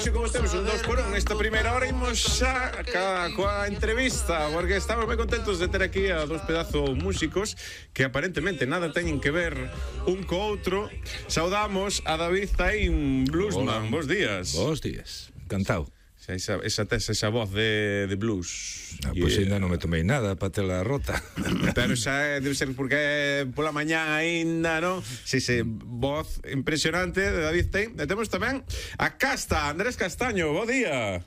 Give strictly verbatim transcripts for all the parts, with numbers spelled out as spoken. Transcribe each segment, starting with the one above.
hoxe como temos un dos por un nesta primeira hora imos xa ca, coa entrevista, porque estamos moi contentos de ter aquí a dos pedazos músicos que aparentemente nada teñen que ver un co outro. Saudamos a David Zain, bluesman. Bos días. Bos días, encantado. Esa, esa, esa, esa voz de, de blues. Ah, pois pues ainda non me tomei nada para tela rota. Pero xa debe ser porque pola mañá aínda, non? Si, si, voz impresionante de David Zain. E temos tamén a Casta, Andrés Castaño, bo día.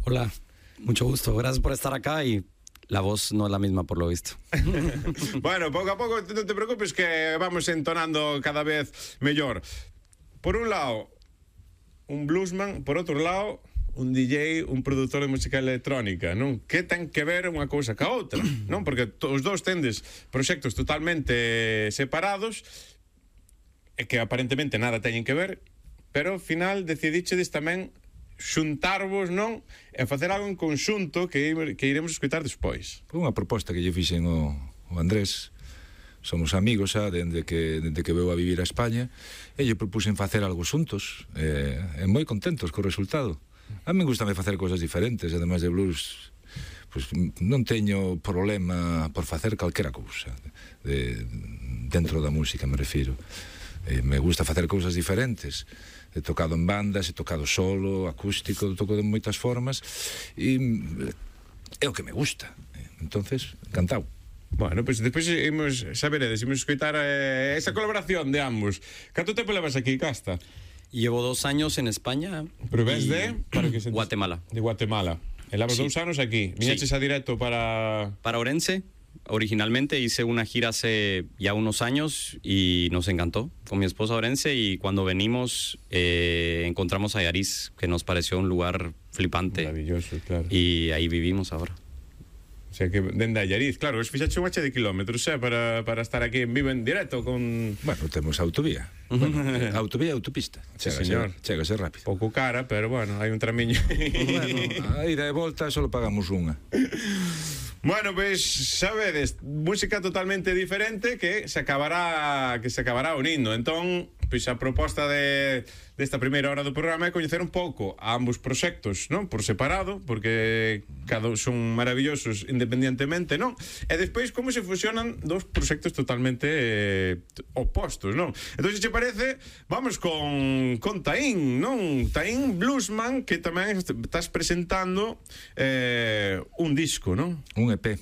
Hola, mucho gusto, gracias por estar acá y la voz no es la misma por lo visto. Bueno, pouco a pouco, non te preocupes que vamos entonando cada vez mellor. Por un lado, un bluesman, por outro lado, un D J, un produtor de música electrónica, non? Que ten que ver unha cousa ca outra, non? Porque os dous tendes proxectos totalmente separados e que aparentemente nada teñen que ver, pero ao final decidichedes tamén xuntarvos, non? E facer algo en conxunto que, que iremos escutar despois. Foi unha proposta que lle fixen o, o Andrés. Somos amigos xa dende que, dende que veu a vivir a España e lle propuxen facer algo xuntos e, e moi contentos co resultado. A mí gustame facer cousas diferentes, ademais de blues, pues, non teño problema por facer calquera cousa de, dentro da música, me refiro. Eh, me gusta facer cousas diferentes. He tocado en bandas, he tocado solo, acústico, toco de moitas formas e é o que me gusta. Entonces, encantado. Bueno, pois pues despois imos saberedes, imos escoitar eh, esa colaboración de ambos. Canto tempo levas aquí, Casta? Llevo dos años en España. Pero ves de para que se Guatemala. De Guatemala. E levas Sí. dous anos aquí. Viñeches Sí. a directo para Para Orense, originalmente hice una gira hace ya unos años y nos encantó con mi esposa Orense, y cuando venimos eh, encontramos a Yariz, que nos pareció un lugar flipante. Maravilloso, claro. Y ahí vivimos ahora. O sea que dende a Allariz, claro, es fixache un hache de kilómetros, eh, para, para estar aquí en vivo en directo con... Bueno, temos autovía. Bueno, autovía e autopista. Sí, Chégase, señor. chégase rápido. Pouco cara, pero bueno, hai un tramiño. Bueno, a ida e volta só pagamos unha. Bueno, pois, pues, sabedes, música totalmente diferente que se acabará que se acabará unindo. Entón, pois pues, a proposta de desta primeira hora do programa é coñecer un pouco a ambos proxectos, non? Por separado, porque cada un son maravillosos independientemente, non? E despois como se fusionan dos proxectos totalmente eh, opostos, non? Entón, se che parece, vamos con con Taín, non? Taín Bluesman, que tamén estás presentando eh, un disco, non? Un E P.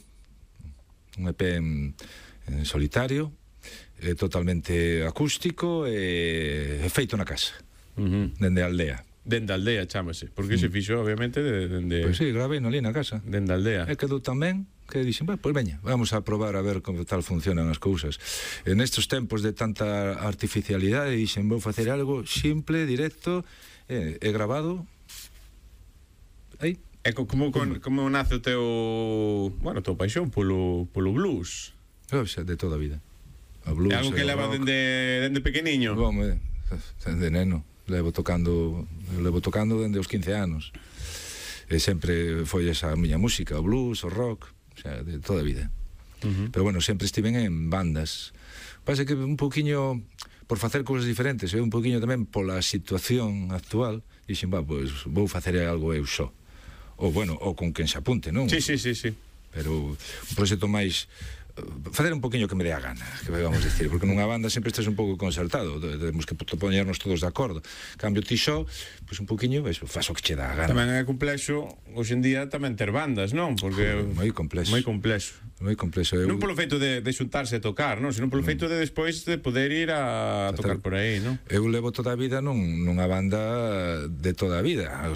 Un E P en, en solitario, eh, totalmente acústico e eh, feito na casa. Uh-huh. Dende a aldea. Dende a aldea, chámase. Porque se fixo, obviamente, de, dende... Pois sí, gravei no ali na casa. Dende a aldea. E quedou tamén que dixen, pois pues veña, vamos a probar a ver como tal funcionan as cousas. En estes tempos de tanta artificialidade, dixen, vou facer algo simple, directo, e, e grabado. Aí. E como, como, como nace o teu, bueno, o teu paixón polo, polo blues? O sea, de toda a vida. O blues, é algo que o leva rock. dende, dende pequeniño? Bom, dende neno. Levo tocando, levo tocando dende os quince anos. E sempre foi esa a miña música, o blues, o rock, o sea, de toda a vida. Uh-huh. Pero bueno, sempre estiven en bandas. Pasa que un poquinho por facer cousas diferentes, e un poquinho tamén pola situación actual, dixen, va, pois vou facer algo eu só. Ou bueno, ou con quen se apunte, non? Sí, sí, sí, sí. Pero un proxecto máis facer un poquinho que me dé a gana, que vamos decir, porque nunha banda sempre estás un pouco concertado, temos que poñernos todos de acordo. Cambio ti xo, pois un poquinho, eso, faz o que che dá a gana. Tamén é complexo hoxe en día tamén ter bandas, non? Porque moi complexo. Moi complexo. Moi complexo. Eu... Non polo feito de, de xuntarse a tocar, non? Senón polo feito de despois de poder ir a tocar por aí, non? Eu levo toda a vida nun, nunha banda de toda a vida.